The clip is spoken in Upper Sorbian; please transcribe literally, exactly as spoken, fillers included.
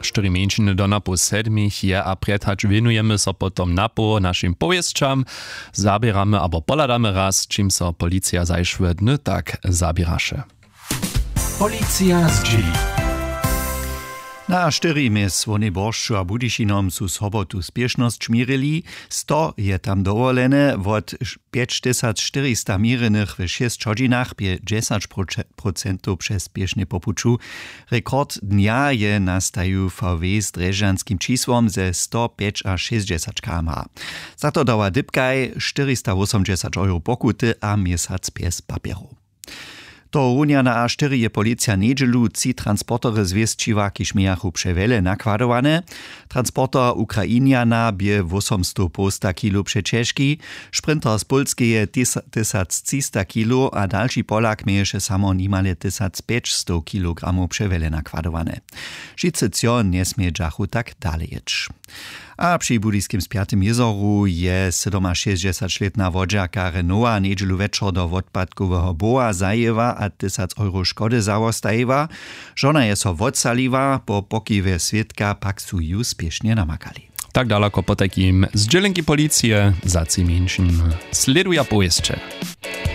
Štyri mjeńšiny do napoł sedmich je a prjed hač wěnujemy so potom napoł našim powěsćam. Zaběramy abo pohladamy raz, čim so policija zašłe dny tak zaběraše. Policija zdźěli. Na štyri mjez Słownej Boršću a Budyšinom su sobotu spěšnosć měrili. Sto je tam dowolene. Wot pjećtysacštyrista měrjenych w šěsć hodźinach bě dźesać procentow přez spěšnje po puću. Rekord dnja je nastajił vw z drježdźanskim čisłom ze sto pjećašěsćdźesać km. Za to dała dypkaj štyristawósomdźesać euro pokuty a měsac bjez papjerow. Tohorunja na a štyri je policija njedźelu tři transportery zwěsćiła, kiž mějachu přewjele nakładowane. Transporter Ukrainjana bě wósomstow połsta kilo přećežki, sprinter z pólskeje tysactřista kilo a dalši polak měješe samo nimale tysacpjećstow kilogramow přewjele nakładowane. Wšitcy třo njesmědźachu tak dale jěć. A při budyskim spjatym jězoru je sydomašěsćdźesaćlětna wodźerka renoa njedźelu wječor do wotpadkoweho bowa zajěła a tysac euro škody zawostajiła. Žona je so wotsaliła, po pokiwje swědka pak su ju spěšnje namakali. Tak dalako potajkim zdźělenki policije. Za tři mjeńšin slěduja powěsće.